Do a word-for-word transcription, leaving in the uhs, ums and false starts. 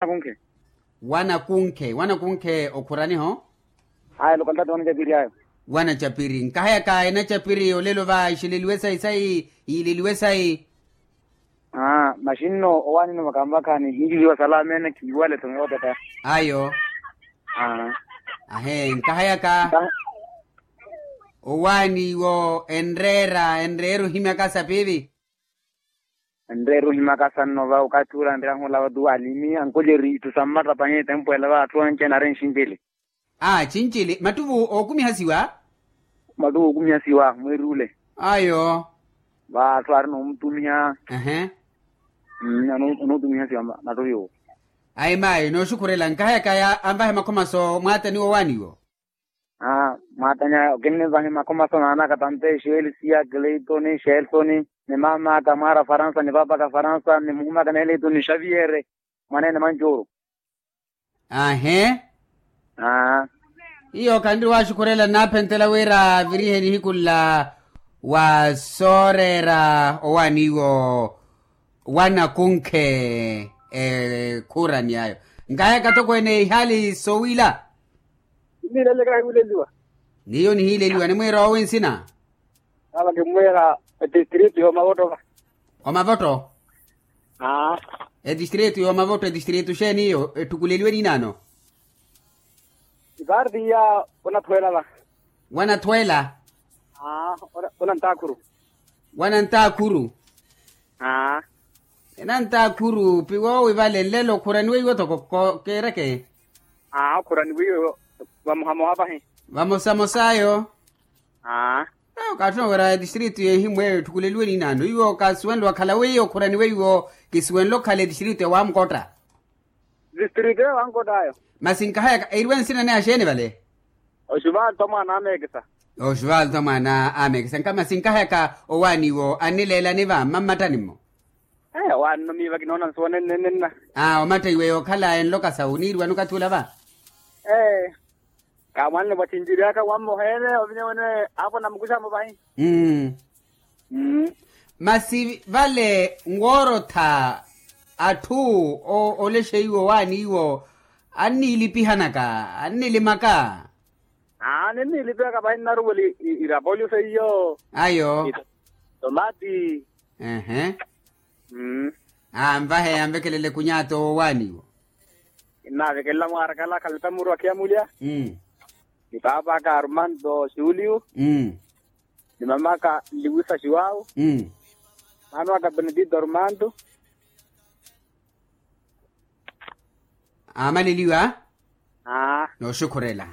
Wanakunkhe. Wanakunkhe wanakunkhe okhuraniho. Aya lokaltati wanacapiri ayo. Wanacapiri nkahayaka enacapiri olelo va ixeleliwe sayi sayi yiileliwe sayi. Aa maxinno owaanini vakanvakhani hiileliwa salamene khiiwale tho miwatata. Ayo. Aa. Ahe nkahayaka. Owaani iwo enreera enreera ohimyaka sapiivi. Enreera ohimaka sanno va okathi ula nryahu olava tu alimi ankolyeri itthu sa mmatta pahi etempo ela va atthu anci anaari nxincili. Aa cincili mattuvu ookumihasiwa. Mattuvu ookumihasiwa mweeri ule. Ayo. Va atthu aari noomutumiha. Ehe. Anootumihasiwa mattuvu yoowo. Ayi maayi nooxukhurela nkahayaka anvahe makhomaso mwaataniwa owaaniwo. Aa mwaatanya okinnivahi makhomaso naanaka tantexi elisiya kleitoni xelsoni ni mamaka mwaara faransa ni papaka faransa ni muhumaka neletoni xaviyere mwaneene mancuuru. Ahe. Aa. Iyo khanriwaxukhurela nnaaphentela wira virihe nihiku nla wa sooreera owaaniwo wanakunkhe ekhurani ayo. Nkahayaka tokweene ihaali sowila. Iniileleka hiwileliwa. Niyo nihiileliwa nimwiira owi nsina. Nava kimmwiira etistritu yoomavoto va. Omavoto. Aa. Etistritu yoomavoto etistritu xeeni iyo etthukuleliwe niinaano? Ipaarti iya onathweela va. Wanathweela. Aa. Onantakhuru. Wanantakhuru. Aa. Enantakhuru piwoowi vale nlelo okhuraniwe iwo toko keereke. Aa okhuraniwe iwo vamohamoha vahi. Vamosamosa ayo. Aa. Okathi owerya etistritu yehimu eyo etthukuleliwe niinaano iwo kasuwenle wakhala weiwo okhuraniwe iwo kisuwenle okhala etistritu ya wamukotta. Distritu eyo wankott'ayo. Masi nkahayaka eriwe nsina ni axeeni vale? Oxuvalto mwaana ameekisa. Oxuvalto mwaana ameekisa nka masi nkahayaka owaaniwo annileelani va mmammattani-mo? Ee owaani-no miiva kinoona nsuwa nennenenna. Aa omatta iwe yookhala enloka sawu niiriwani okathi ula va? Ee. Kaamwanne vwattinjiriyaka wammoha ene ovinya wene aavo namukuxa-mo vahi. Mmm. Masi vale nwoorotha atthu olexeiwo owaaniwo anniilipihanaka annilimaka. Aa ninniilipihaka vahi nnaruvula irapolyo seiyo. Ayo. Tomati. Ehe. Anvahe anvekelele kunyaato woowaaniwo. Nnaavekelela mwaarakala akhalata muru akhiyamulya. Ni paap'aka armando xuuliyu. Ni mam'aka nliwisa xiwaawu. Maana waka benedito armando. Aamaleliwa. Nooxukhurela.